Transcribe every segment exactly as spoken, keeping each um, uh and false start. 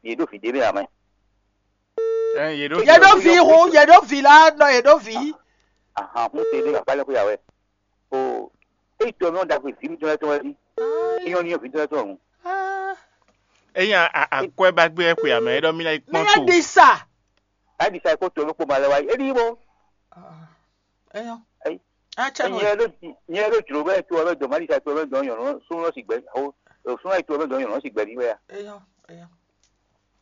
yě ɖo vǐ ɖé mɛ ǎ mɛ. Ɛ yě ɖo Yɛ ɖo vi hu, yɛ ɖo vi la nɔ yɛ ɖo vi. Ahan, hún se ɖé akpá lɛ́ xwé yà wɛ. O, é yi tɔ mɛ ɔ́ ɖagbe vǐ mitɔn lɛ́ɛ tɔn wɛ ɖi. É nyɔ́ ní nyɔ́ vǐ mitɔn lɛ́ɛ tɔn hǔn. Eyin akwɛ ba gbé ɛ xwe amɛ é ɖɔ mi ná yi Mi kpɔn nya to. Ɖi sa. Ayi ɖi sa é kó to ló kpó ma lɛ wá yi. É ɖi bó. Eyɔ. Ayi. Atsɛ Nyɛ ɖo nyɛ ɖo jlo bɛ to bɛ dɔn ma ɖi sa to bɛ dɔn nyɔnu sún lɔ si gbɛ. O, sún lɔ si to bɛ dɔn nyɔnu si gbɛ ni wɛ ya. Eyɔ. Eyɔ.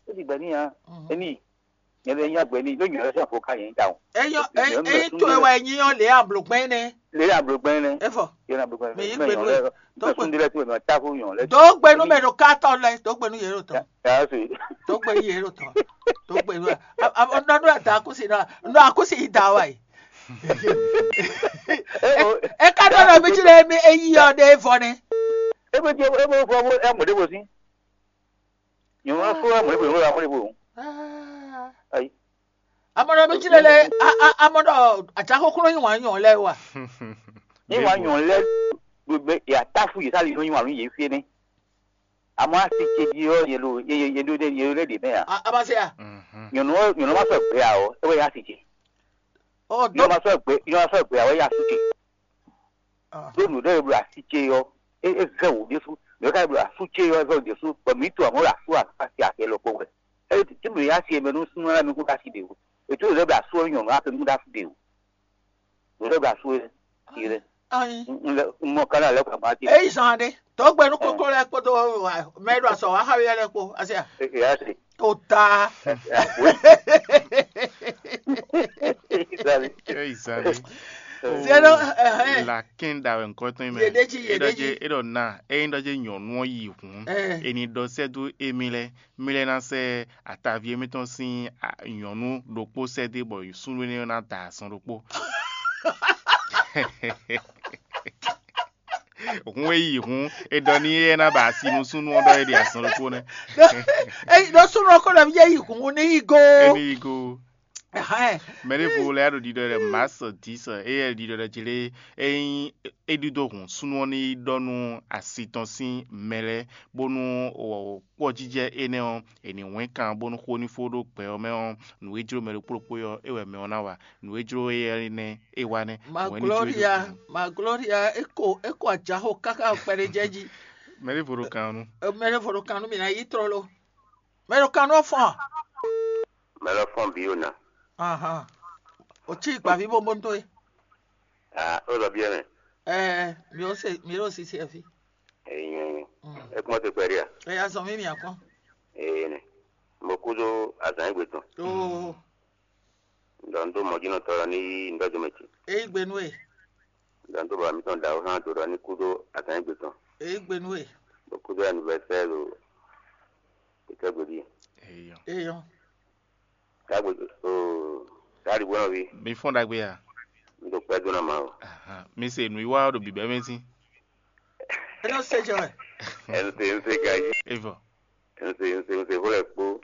É si gbɛ ni ya. É ní. Nyɛ lɛ nya gbɛ ni ló nyɔnu sɛn fo ká yẹn ta o. Eyɔ. Eyi to wɛ nyi yɔ le ablogbɛn nɛ. Lé ablogbɛn nɛ. Efɔ. Yé na ablogbɛn Mais nɛ. yé gbɛnu ɛ. Tó kun dilɛ tó mɛ ta fún yɔn lɛ. Dɔw gbɛnu mɛ ɖo kátɔ lɛ, dɔw gbɛnu yɛ ɖo tɔn. Yàrá sè. Dɔw gbɛnu yɛ ɖo tɔn. Dɔw gbɛnu ɛ. Nɔ nɔ da akusi nɔ nɔ akusi yi da wa yi. É o. E ka dɔ nɔ mi tsi ɖe mi eyi yɔ ɖe vɔ nɛ. É bɛ jẹ é bɛ fọ ẹ mọ̀ dé bó sí. Nyɔnu ɔ́ fún ɛ mọ̀ dé bó nyɔnu ɔ́ mọ̀ dé bó. Ayi. Amɔ nɔ mi tsi ɖe lɛ amɔ nɔ atsa kókó nɔ yi wàn nyɔ lɛ wa. Ní wàá nyɔn lɛ gbogbo yàtá fún yìí sálì ní wàá yìí fi ní. Àmọ́ àti tse di ọ́ yẹn ló yẹn ló dé yẹn ló dé dè mẹ́ à. Abase ya. Nyɔnu ɔ nyɔnu ma sɔ gbé à ɔ ẹ wẹ́ yà á ti tse. Ɔ Nyɔnu dɔ. ma sɔ gbé nyɔnu ma sɔ gbé à ɔ yà á ti tse. Lónìí ɖe eblo asi tse yɔ e e zɛ wò ɖésú ɖe ká eblo asu tse yɔ e zɛ wò ɖésú bɔ mǐ to amɔ̌ ɖo asu asi ake lɔ kpó wɛ. Eye tí mi yá si eme nú súnmọ́ mi kú ɖ'asi ɖe o. Ètò ìlú ɛbɛ asu ɔ́ nyɔ̌nu ake nú ɖ'asi ɖe o. Ìlú ɛbɛ asu ɛ ti lɛ. Ayi. N lɛ n mɔ kánà lɛ kpa ma ti. Eyi zan ɖe. Tɔgbe nu kókó lɛ kpódó mɛ ɖo asɔ wa xawi lɛ kpó asia. Eke yá si. O ta. Wí. Ìsàlẹ̀. Ɛ izali. Zero ɛhɛn. Lakin da wɛ nkɔtɔn mɛ. Yeɖeji, yeɖeji. Eɖɔ na eyin ɖɔ je nyɔnu ɔ yi hun. Ɛ. Eni ɖɔ sɛ do emi lɛ mi lɛ na sɛ atavi emitɔn sin a- nyɔnu ɖokpó sɛ de bɔ sunɖó ne na da azɔn ɖokpó. Hun e yi hun e ɖɔ ni e na ba asi nú súnnu ɔ ɖɔ e ɖi azɔn ɖokpó nɛ. Eyi ɖo súnú ɔkọ ɖe mi yɛ yi hun ní yi go. Eni yi go. Ɛhɛn. Mɛ ɖěvo lɛ ɖo ɖiɖɔ ɖe masɔ disɔ eye ɖiɖɔ ɖe jlé eyin e ɖiɖo hun súnnu ɔ ní ɖɔ nú asi tɔn sín mɛ lɛ bónú kpɔ́jijɛ énɛ́ ɔ́ è nǐ wɛ́n kan bónú xó ní fó ɖó gbɛ ɔ́ mɛ ɔ́, nǔ e jló mɛ ɖokpó ɖokpó ɔ́ é wɛ mɛ ɔ́ ná wa. Nǔ e jló éyɛ́ nɛ́ é wa nɛ́. Ma Nǔ e ní jló é gloria, ɖo- ma gloria, eko eko ajaxo kaka kpɛɖe jɛ ji. Mɛ ɖěvo ɖo kan nu. Mɛ ɖe vo ɖo kan nú mi na yi trɔ lo. Mɛ ɖo kan nú ɔfɔn. Mɛ lɔ fɔn bi yóò na. Ahan. O tí gbavi bó bó ń tó ye. Ah, ó lọ bí ẹ̀rẹ̀. Ɛ mi ó se mi ó sisi ɛ fi. Ẹ̀yìn ẹ̀yìn. Ẹ kúmọ̀ ti pẹ̀lú à. Ɛ ya zɔn mi mi akɔn. Ẹ̀yìn ni. Mo kú tó àzàn ìgbè tán. Oo. Ǹdọ̀ ń tó mọ̀jínà tọrọ ní ǹdọ́jọ́ mẹ́tì. Eyi gbenu e. Ǹdọ̀ ń tó bàbá mi tán dàrú hàn tó rọ ní kú tó àzàn ìgbè tán. Eyi gbenu e. Mo kú tó anniversaire o. Ìkẹ́gbèdì. Eyɔ. Eyɔn. Kágbè o. Káàdì gbọ́dọ̀ bí. Mi fɔn ɖagbe ya. N tó pẹ́ dúnà máa o. Ahan. Mi se nu iwa ɖo bibɛ mɛ si. Eno se jɔ ɛ. Ẹ ń ṣe ń ṣe gají. Evɔ. Ń ṣe ń ṣe ń ṣe fúnlẹ̀ kpó.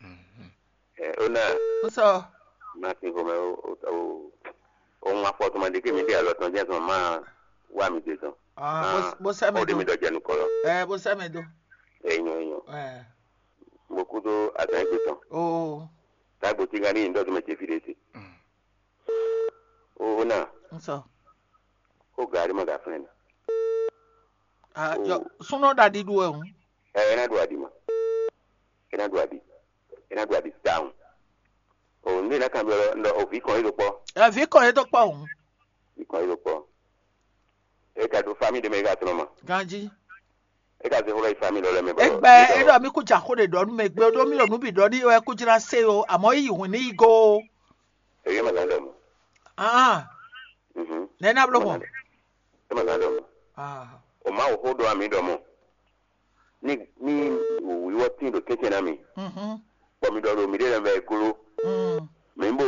Ẹ ó náà. N sɔ. Máa ti fọmọ ó ó ó. Ohun afọtọmọdé kí mi dé àlọ́ tán jẹ́ sọ máa wá mi dé tán. Ah, bó bó sɛ mi Ó dé mi do. dọ̀jẹ̀ nu kọ̀rọ̀. Ɛ bó sɛ mi do. Ẹ̀yìn ẹ̀yìn. Ɛ Mo kú tó àtàn ìgbè tán. Oo. Tágbó tí ká ní ìdọ́tún mi ti fi dé sí. Ó ó náà. N sɔ. Ó gàrí mọ̀ gà fún ẹ̀ nà. Ah, yɔ sunɔ ɖaɖi ɖu ɛ o. Ẹ ẹ náà dùn àdì mọ̀. Ẹ náà dùn àdì. Ẹ náà dùn àdì táwọn. Òun ní ìnáka bí ọlọ ńlọ òfin kan yìí ló pọ̀. Ɛ vi kɔ ye do kpɔ o. Ìkan yìí ló pọ̀. Ẹ kà dùn fámì dèmí ká tọ̀nà mọ̀. Ganji. Ẹ kà sí fúnra ìfámì lọ́lọ́ mi bọ̀. Egbe eɖɔ mi ku dza xo ɖe ɖɔ nu me gbe ɖo mi lɔ nu bi ɖɔ ni wɛ ku dzra se o amɔ yi hun ni yi go. Èyí mọ̀ gán dọ̀ mọ̀. Ah. Mhm. Nɛ na blo mɔ. Ẹ mọ̀ gán dọ̀ mọ̀. Ah. O ma wò xó ɖo àmì ɖɔ mọ̀. Ní ní wíwọ́ tí ɖo kẹ́kẹ́ náà mi. Mhm. Kpɔ mi ɖɔ ɖo mi ɖe lɛ vɛ glo. Mm. Mi bo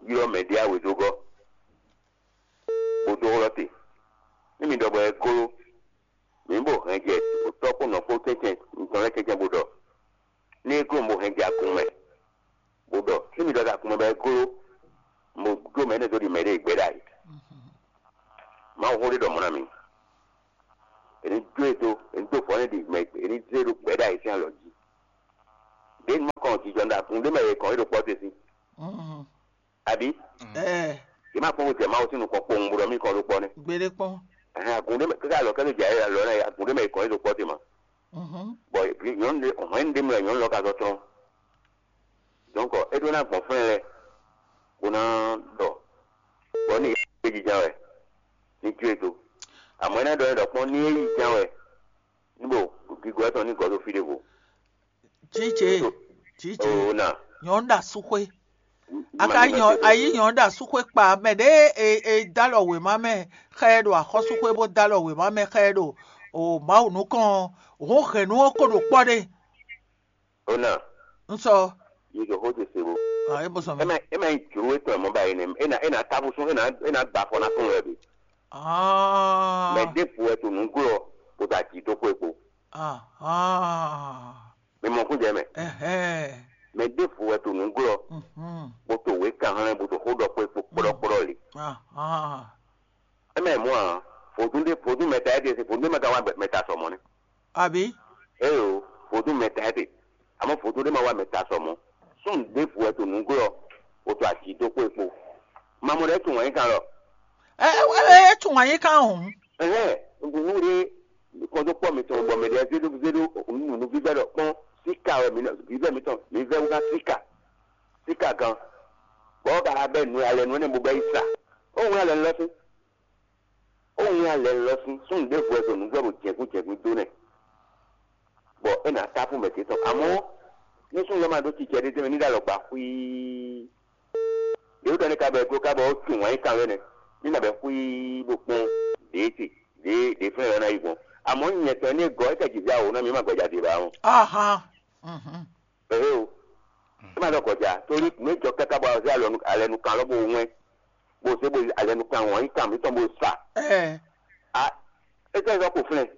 ylɔ mɛ ɖi awe dó gɔ́. Bo dó hlɔ́ te. Ní mi ɖɔ bɔ ɛ glo. Mi bo hɛn jɛ tɔ́ kpó nɔ kpó kɛ́kɛ́n ntɔn lɛ́ kɛ́kɛ́n bo ɖɔ. Ní é glo bo hɛn jɛ akun mɛ. Bo ɖɔ. Ní mi ɖɔ ɖo akun mɛ bɔ ɛ glo. Mo dó mɛ énɛ́ dó ɖi mɛ ɖe gbɛ ɖa yi. Mawu xó ɖé ɖɔ mɔ̌ ná mi. Èní dó e dó, èní dó fɔ̌n ɖi mɛ èní zé ɖo gbɛ ɖa yi sín alɔ jí. Ɖě nu kɔ kɔn jijɔ ɖo agun ɖé mɛ yě kɔn é ɖo kpɔ́ te sín. Mhm. Abǐ? Ɛɛ, Yě má kpɔ́n bó jɛ Mawu sín nukɔn kpowun bó ɖɔ mí kɔn ɖó kpɔ́ nɛ́. Gbéɖé kpɔ́n. Ɛhɛn, agun ɖé mɛ káká alɔ kɛ́ ló jɛ ayé alɔ lɛ́ɛ agun ɖé mɛ yě kɔn é ɖo kpɔ́ te ma. Mhm. Bɔ nyɔ̌nu ɖé hɔn nyɔ̌nu ɖé mɛ nyɔ̌nu lɔ ka zɔ tlɔ́n. Donc é ɖó ná gbɔn fɛ́n lɛ bó ná ɖɔ bɔ ní é jijɛ wɛ ní jó e do. Àmọ́ é ná ɖɔ é ɖɔ kpɔ́n ní é yi ján wɛ ní bo gígó ɛtɔn ní gɔ̌ ɖo fí ɖěvo. Tsitse, tsitse. Oo na. Nyɔ̌nu ɖo asúxwé. A ka nyɔ ayi nyɔ̌nu ɖo asúxwé kpa mɛ ɖé e e dó alɔ wěma mɛ xá ɛ ɖo axɔ́súxwé bó dó alɔ wěma mɛ xá ɛ ɖo o Mawu nukɔn ɔ́, hǔn hɛ̌nnu ɔ́ ko ɖo kpɔ́ ɖe. Ona, Un sɔ. Yi ɖo xó ce se bo. Ah, é bó sɔn Ema mɛ. Ema yi jló etɔn mɔ ba yi nɛ. Ena ena tabu sún ena ena gba fɔ na sún wɛ bi. Ah. Mɛ ɖe fu wɛ to nǔ glɔ kó ta jí dó xwé kpo. Ah. Ah. Mi mɔ kún jɛ mɛ. Ɛhɛn. Mɛ ɖe fu wɛ to nǔ glɔ Mhm. Kó to wě kan hlɛn bó to xó ɖɔ xwé kpo kplɔ́kplɔ́ li. Ah. Ah. Ema yi mɔ a, vodún ɖé vodún mɛ ta é ɖe se vodún ɖé mɛ ka wá mɛ ta sɔ mɔ nɛ. Abi? Eo, vodún mɛ ta ete. Àmọ́ vodún ɖé ma wá mɛ ta sɔ mɔ̌. Súnnu ɖěvo wɛ to nǔglɔ́, bó to aji dó xwé kpo. Mamɔ ɖɛ́ tunwun anyí kan lɔ. Ɛ ɛ ɛ ɛ tunwun anyí kan hǔn. Ɛhɛn, nǔɖé kɔn dó kpɔ́ mitɔn bɔ mɛ ɖé zéɖó zéɖó nǔnúvívɛ́ ɖɔ kpɔ́n síka wɛ mi vívɛ́ mitɔn mi vɛ́ wú ná síka. Síka gan. Bɔ ɔ́ ka ha bɛ́ nǔ alɛ nǔ énɛ́ bo bɛ́ yi sa. Ó wlán alɛ lɔ sín. Ó wlán alɛ lɔ sín súnnu ɖěvo wɛ ɖo nǔ vɛ́ ɖo jɛ̌gún jɛ̌gún dó nɛ́, bɔ é nǎ táfú mɛ ce tɔn. Amɔ̌, nú súnnu lɛ́ɛ ma ɖó cicɛ ɖé tɛ́nmɛ ní ɖo alɔ gba xwíí. Yě wú ɖɔ ní ka bɔ è gló ká bɔ ó tunwun wǎn yí kan wɛ nɛ́, ní nǎ bɛ́ xwíí bó kpɔ́n ɖě ce ɖě ɖě flɛ́n ɔ́ ná yi gbɔn. Amɔ̌ nyɛ tɔn énɛ́ gɔ́ é kɛ jǐ zé awo ná mì ma gbɛjá ɖě ba ɔ́. Aha. Mhm. Ehe o. É ma ɖɔ gɔ̌já, tóli nǔ e jɔ káká bɔ azé alɛnu alɛnu kan lɔ bó wɛn, bó zé bó alɛnu kan wɔn nyí kan mǐtɔn bó sa. Ɛɛ. A, é tɛ́ zɔ ko flɛ́n.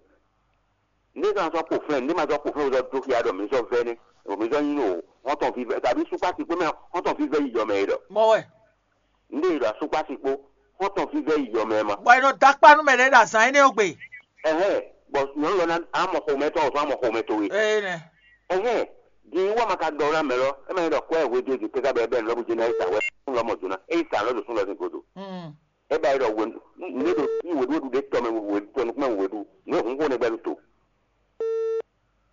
Nde zɔ azɔ ko flɛ́n, nde ma zɔ ko flɛ́n, zɔ dó xia ɖɔ mǐ zɔ vɛ́ nɛ́, ɖo mǐ zɔ nyí o, hɔntɔn vívɛ́, tàbí súkpá ti kpé mɛ hɔntɔn vívɛ́ yi yɔ mɛ é ɖɔ. Mɔ wɛ. Nde yi ɖɔ asúkpá ti kpó, hɔntɔn vívɛ́ yi yɔ mɛ ma. Bɔ è nɔ dó akpá nú mɛ ɖé ɖo azǎn énɛ́ ɔ́ gbe. Ɛhɛn, bɔ nyɔ̌nu lɔ ná amɔ xomɛtɔn ɔ́ zɔn amɔ xomɛtɔn we. Ee nɛ. Ɛhɛn, din wá ma ka ɖɔ ná mɛ lɔ, é ma nyí ɖɔ kwɛ hwe dó dzi káká bɔ é bɛ́ nǔ lɔ bó jɛ ná yi sa hwɛ, sún lɔ mɔ do ná. É yi sa lɔ ɖo sún lɔ sín godo. Mm. É ba yi ɖɔ hwe nú ɖé ɖo ní hwe ɖó ɖu ɖé tɔ mɛ hwe tɔnukún mɛ hwe ɖu, nǔ e hun xó nɛ gbɛ ɖo to.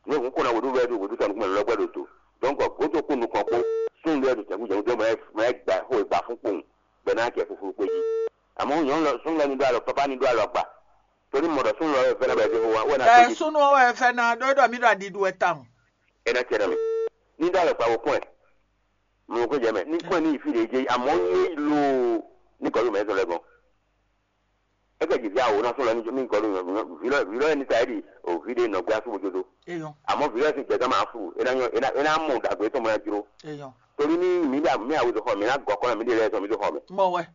Nǔ e hun xó ná hwe ɖó wɛ ɖo hwe ɖó tɔnukún mɛ lɔ gbɛ ɖo to. Donc, gǒdo kpó nukɔn kpó, sún lɔ ɖo jɛ̌gún jɛ̌gún dó mɛ mɛ gba xó e gba fún kpowun, bɔ é ná jɛ fuflu kpé jí. Àmọ́ nyɔ̌nu lɔ sún lɔ ní ɖó alɔ, papá ní ɖó alɔ gba. Torí mɔ ɖɔ sún lɔ wɛ fɛ́nɛ bɔ é dó wa, wɛ ná Ɛ kpé jí. Súnú ɔ́ wɛ fɛ́ ná ɖó ɖɔ mí ɖo aɖiɖu wɛ tawun. É ná cɛ nɔ mì. Ní ɖó alɔ gba wo kpɔ́n ɛ. Mɔ kó jɛ mɛ. Ní kpɔ́n ɛ ní yi fí ɖě jɛ, àmọ́ ní lo ní gɔ̌ ɖo mɛ tɔn lɛ gɔn. É kɛ jǐ fí awo ná sún lɔ ní gɔ́ ɖo vǐ lɔ vǐ lɔ ní ta é ɖi o vǐ ɖé nɔ gbé asú bó jó dó. Eyɔn. Àmọ́ vǐ lɔ sín gbɛ̌ tɔn máa flu, é ná nyɔ é ná é ná mɔ ɖagbe tɔn mɔ ná jló. Eyɔn. Torí ní mǐ ɖa mǐ awu dó xɔ mǐ ná gɔ́ kɔ́ ná mǐ ɖe lɛ́ɛ sɔ mǐ dó xɔ mɛ. Mɔ wɛ.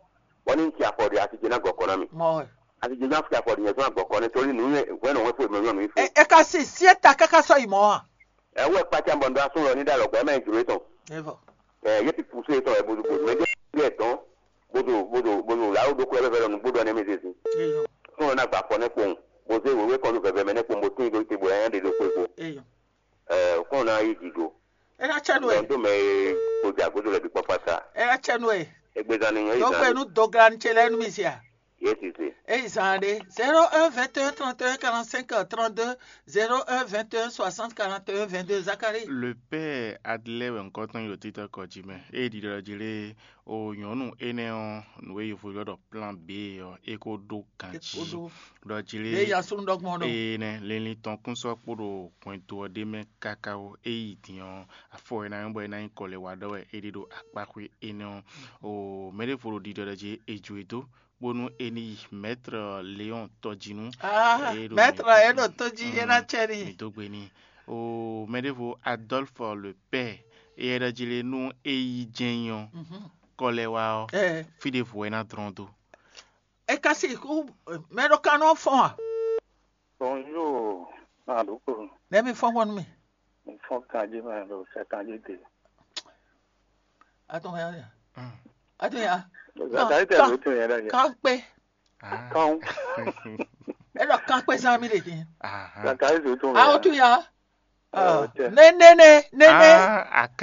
Bɔ ní ci afɔ ɖe asi ce ná gɔ́ kɔ́ ná mì. Mɔ wɛ. Asi ce ná fi afɔ ɖe nyɛ tó ná gɔ́ kɔ́ nɛ torí nǔ nyɛ hwɛ́n nɔ hwɛ́n fó mɛ nyɔ nǔ fó. E e ka si si e ta káká sɔ́ yi mɔ̌ a? Ɛ wɛ kpácá bɔ ndo asún lɔ ní ɖe alɔ gbɔ ɛ mɛ jló tɔn. Evɔ. Ɛ yé ti poussé tɔn ɛ bodo bodo mɛ jɛ ɛ tɔn bodo bodo bodo la wo ɖokɔ ɛ bɛ lɔ nugbo ɖɔ nɛ mi zezi. Eyɔn. Fún lɔ ná gba afɔ nɛ kpowun bó zé wěwé kɔn ɖo vɛvɛ mɛ nɛ kpowun bó tín ɖó te bó ɛ ɖe ɖo kpé kpo. Eyɔn. Ɛ fún lɔ ná yi dzi go. Ena tsɛ nu e. Dɔn tó mɛ e kpo dza godo lɛ bi kpɔkpa sa. Ena tsɛ nu e. Egbezan ni nyɔ yi Dɔgbe zan. Nu dɔglan ce lɛ nu mi zia. Yé ti se. Eyi zan ɖe zéro un vingt et un trente et un quarante-cinq trente-deux, zéro un vingt et un soixante quarante et un vingt-deux, Zacharie. Le père Adelaide wɛ ŋkɔ tɔn yi ɖo títɔ kɔ jí mɛ. Eye ɖiɖɔ jí lé o nyɔ̌nu énɛ́ ɔ́, nǔ e yǒvo ylɔ́ ɖɔ plan B ɔ́, é ko ɖó ganjí. Ɖɔ jí lé. Ɖe ya sunu ɖɔgbɔn ɖɔ. Eye nɛ, linlin tɔn kún sɔ́ kpo ɖo hwɛndo ɔ́ ɖé mɛ káká ó. É yi din ɔ́, afɔ e ná nyɔ́ bɔ é ná nyí kɔ lɛ wa ɖɔ wɛ é ɖe ɖo akpáxwé énɛ́ ɔ́. O mɛɖěvo ɖo ɖiɖɔ ɖɔ jí é ju e dó, bónú é ní yi Maître Léon Tɔjinu. Ah, Maître Léon Tɔji, é ná tsɛ ní. Mi dó gbe ní. O mɛɖěvo Adolphe le père, é ɖɔ jí lé nú é yi jɛ́n nyí ɔ́, kɔ lɛ wá ɔ́, fí ɖěvo wɛ é ná dlɔ́n dó. É ka si kú mɛ ɖo kan nɔ fɔn a? Bonjour, Maɖuko. Nɛ mi fɔn fɔn nú mi. Mo fɔn kanjí mɛ ɖo sɛ kanjí te. Atɔn ya. Atɔn ya. Zakayi tɛ ló tún yẹn lẹ yẹ. Kan kpé. Kan. É ɖɔ kan kpé zán mi lè dín. Zakayi tó tún yẹn. Awo tún ya. Nene nene.